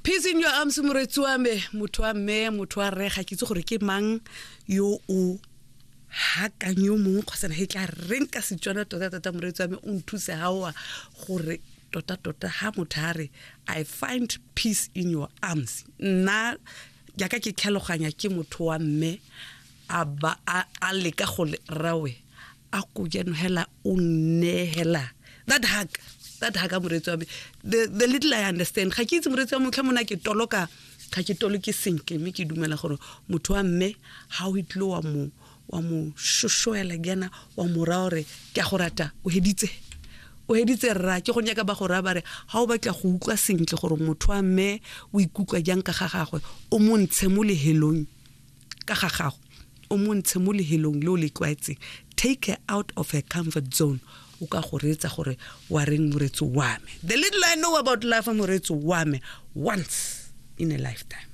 Peace in your arms, moretsi wa me, motho wa mme, motho wa rre, ga ke itse gore ke mang yo o hakang yo mongwe kgotsa e tla reng ka Setswana. Tota-tota, moreetsi wa me, o nthuse gaoa gore tota-tota ha motho a re, "I find peace in your arms," nna jaaka ke tlhaloganya ke motho wa mme a ba a leka go rawe a ko jaanong hela o nneela that hug, that hug. Moreetsi wa me, the little I understand, ga ke itse, moreetsi wa motlha mona ke toloka, ga ke toloke sentle, mme ke dumela gore motho wa mme ga o itlile wa mo shoshoela jaana, wa mo raya gore ke a go rata, o heditse, o heditse rra. Ke go nyaka ba go raya ba re ga o batla go utlwa sentle gore motho wa mme o ikutlwa jang ka ga gagwe, o mo ntshe mo lehelong ka ga gago, o mo ntshe mo lehelong le o le tlwaetseng, take her out of her comfort zone, o ka go reetsa gore wa reng. Moreetsi wa me, the little I know about life, moreetsi wa me, once in a lifetime.